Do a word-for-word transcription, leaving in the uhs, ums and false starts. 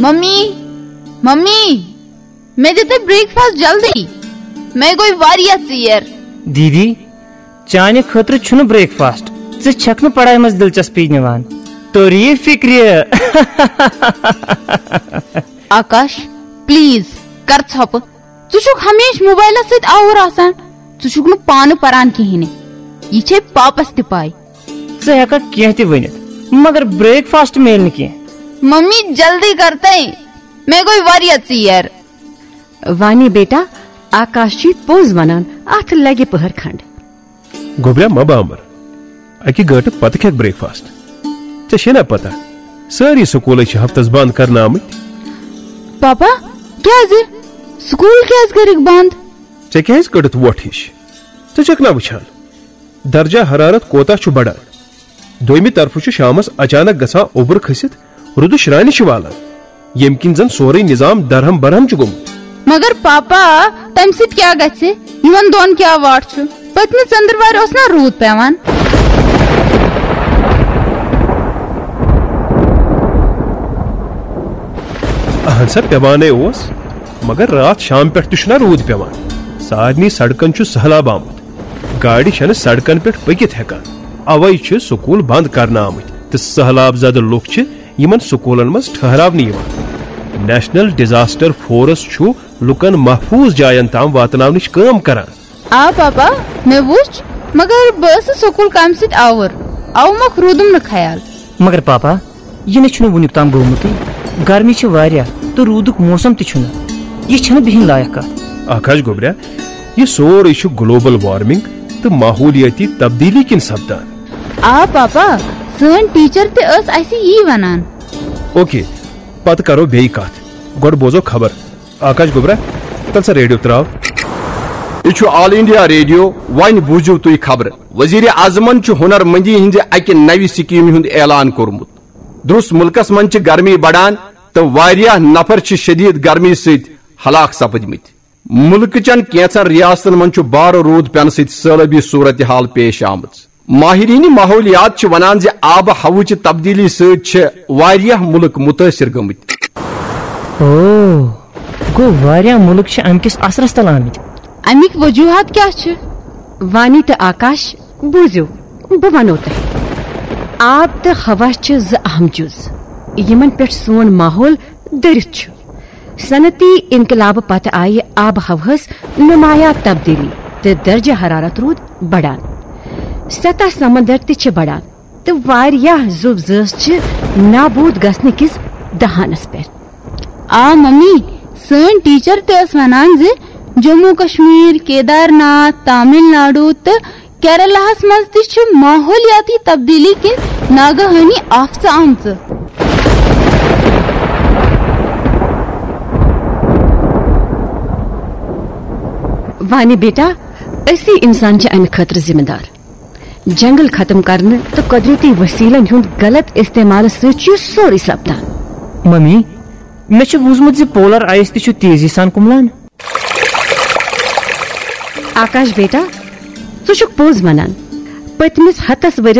Mummy, mummy, مےٚ دِ تہٕ break fast جلدی۔ مےٚ گوٚو واریاہ ژیر۔ دیدی، چانہِ خٲطرٕ چھُنہٕ بریک فاسٹ۔ ژٕ چھَکھ نہٕ پڑھایہِ منٛز دلچسپی نِوان۔ توٚر یہِ فِکرِ۔ آکاش، پلیز، کر ژھۄپہٕ۔ ژٕ چھُکھ ہمیشہٕ موبایلس سۭتۍ آوُر آسان۔ ژٕ چھُکھ نہٕ پانہٕ پران کِہیٖنۍ۔ یہِ چھے پاپس تہِ پاے۔ ژٕ ہٮ۪ککھ کینٛہہ تہِ ؤنِتھ، مگر بریک فاسٹ میلہِ نہٕ کینٛہہ۔ ممی، جلدی کر تہٕ، مےٚ گوٚو واریاہ ژیر۔ وانی بیٹا، آکاش چھُے پوٚز ونان، اتھ لگہِ پٔہر کھنڈ۔ گوٚبریا، مہ بامبر، اکہِ گٲنٹہٕ پتہٕ کھٮ۪کھ بریک فاسٹ۔ ژےٚ چھے نا پتہ، سٲری سکوٗلے چھِ ہفتس بند کرنہٕ آمٕتۍ۔ پاپا، کیازِ؟ سکوٗل کیازِ کٔرِکھ بند؟ ژےٚ کیازِ کٔڑٕتھ وۄٹھ ہِش؟ ژٕ چھَکھ نا وٕچھان، درجہ حرارت کوتاہ چھُ بڑان؟ دوٚیمہِ طرفہٕ چھُ شامس اچانک گژھان اوٚبُر کھٔسِتھ رُدٕ شرانہِ چھِ والان، ییٚمہِ کِنۍ زن سورُے نظام درہم برہم چھُ گوٚمُت۔ مگر پاپا، تمہِ سۭتۍ کیٛاہ گژھِ؟ یِمن دۄن کیٛاہ واٹھ چھُ؟ پٔتمہِ ژٔنٛدٕروارِ اوس نا روٗد پٮ۪وان؟ اہن سا، پٮ۪وانَے اوس، مگر راتھ شام پٮ۪ٹھ تہِ چھُنہ روٗد پٮ۪وان۔ سارنٕے سڑکن چھُ سہلاب آمُت۔ گاڑِ چھنہٕ سڑکن پٮ۪ٹھ پٔکِتھ ہٮ۪کان۔ اوے چھِ سکوٗل بند کرنہٕ آمٕتۍ تہٕ سہلاب زدٕ لُکھ چھِ یِمن سکوٗلن منٛز ٹھہراونہٕ یِوان۔ نیشنل ڈیزاسٹر فورس چھُ لُکن محفوٗظ جاین تام واتناونٕچ کٲم کران۔ آ پاپا، مےٚ وُچھ، مگر بہٕ ٲسٕس سکوٗل کامہِ سۭتۍ آوُر، اَوٕ مۄکھ روٗدُم نہٕ خیال۔ مگر پاپا، یہِ نہٕ چھُنہٕ وُنیُک تام گوٚمُتٕے۔ گرمی چھِ واریاہ تہٕ روٗدُک موسم تہِ چھُنہٕ۔ یہِ چھَنہٕ بِہِنۍ لایق کتھ۔ آکاش گوٚبریا، یہِ سورُے چھُ گلوبل وارمنگ تہٕ ماحولیٲتی تبدیلی کِنۍ سپدان۔ آ پاپا، سٲنۍ ٹیچر تہِ ٲس اسہِ یی ونان۔ اوکے، پتہٕ کرو بیٚیہِ کتھ۔ گۄڈٕ بوزو خبر۔ آکاش گوٚبرا، تل سا ریڈیو تراو۔ یہِ چھُ آل انڈیا ریڈیو۔ وۄنۍ بوٗزِو تُہۍ خبرٕ۔ وزیر اعظمن چھُ ہُنر مندی ہٕنٛزِ اکہِ نوِ سکیمہِ ہُنٛد اعلان کوٚرمُت۔ درست مُلکس منٛز چھِ گرمی بڑان تہٕ واریاہ نفر چھِ شدید گرمی سۭتۍ ہلاک سپٕدمٕتۍ۔ مُلکہٕ چٮ۪ن کینٛژن ریاستن منٛز چھُ بارٕ روٗد پٮ۪نہٕ سۭتۍ سٲلٲبی صورتحال پیش آمٕژ۔ ماہرین ماحولیات چھِ ونان زِ آب و ہوہٕچہِ تبدیلی سۭتۍ چھِ واریاہ مُلک مُتٲثر گٔمٕتۍ۔ او، گوٚو واریاہ مُلک چھِ امہِ کِس اثرس تل آمٕتۍ۔ امیِکۍ وجوہات کیٛاہ چھِ؟ وانی تہٕ آکاش، بوٗزِو، بہٕ ونو تۄہہِ۔ آب تہٕ ہوا چھِ زٕ اہم جُز، یِمن پٮ۪ٹھ سون ماحول دٔرِتھ چھُ۔ صنعتی انقلابہٕ پتہٕ آیہِ آب و ہوہس نمایاں تبدیلی تہٕ درجہ حرارت روٗد بڑان۔ سطح سمندر تہِ چھِ بڑان تہٕ واریاہ زُو زٲژ چھِ نابود گژھنہٕ کِس دہانس پٮ۪ٹھ۔ آ ممی، سٲنۍ ٹیچر تہِ ٲس ونان زِ جموں کشمیر، کیدار ناتھ، تامل ناڈو تہٕ کیرلاہس منٛز تہِ چھِ ماحولیاتی تبدیلی کِنۍ ناگہٲنی آفژٕ آمژٕ۔ وانی بیٹا، أسی انسان چھِ امہِ خٲطرٕ ذمہٕ دار۔ جنگل ختم کرنہٕ تہٕ قدرتی وسیلن ہُنٛد غلط استعمال سۭتۍ چھُ یہِ سورُے سپدان۔ ممی، مےٚ چھُ بوٗزمُت زِ پولر آیس تہِ چھُ تیزی سان کُملان۔ آکاش بیٹا، ژٕ چھُکھ پوٚز ونان۔ پٔتمِس ہتس ؤرِیس